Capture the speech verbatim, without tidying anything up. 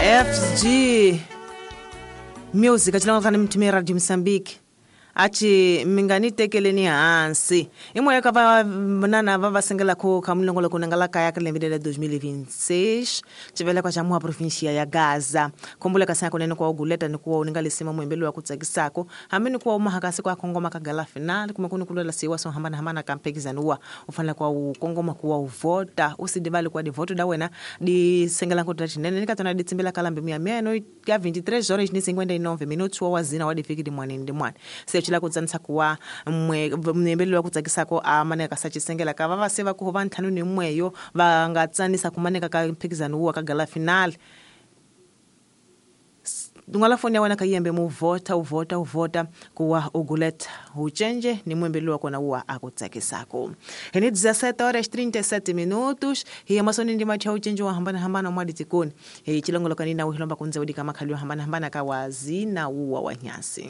F G Music achilonga mtumia Radio Mozambique achi mingani tekeleni hansi imwe ka va nana va va sengela ko ka mulongo ko nangala kaya ka lembe la dois mil e vinte e seis chivela kwa chamua provincia ya Gaza kombula ka sako nene kwa uguleta ni kuwa uninga lisima mwembelo wa kutsakisako hamini kuwa umahakasi kwa kongoma ka gala final kuma kuni kulela siwa so hambana hambana kampekizanua ufanela kwa ukongoma kuwa uvota usidivali kwa divoto da wena di sengela ko tachinene nikatona ditsimbela kalambe mia mia no ya vinte e três horas ni cinquenta e nove minutos wa wazina wa difiki di mwana ndi mwana se chila kutsanisa kuwa mwe wa kutsakisako amaneka sachisengela ka va va se va ku va ntlhanu ni mweyo va nga tsanisa kumaneka ka mphikizano wa ka gala final dungala foni ya wena ka yembe mu vota uvota uvota kuwa uguleta uchenje ni mwembelo wa kona wa akutsakisako heni dezessete horas trinta e sete minutos hi masoni ndi macha uchenje wa hambana hambana mwa ditikoni hi chilongolo kanina uhilomba kunze udika makhali wa hambana hambana ka wazina uwa wa nyasi.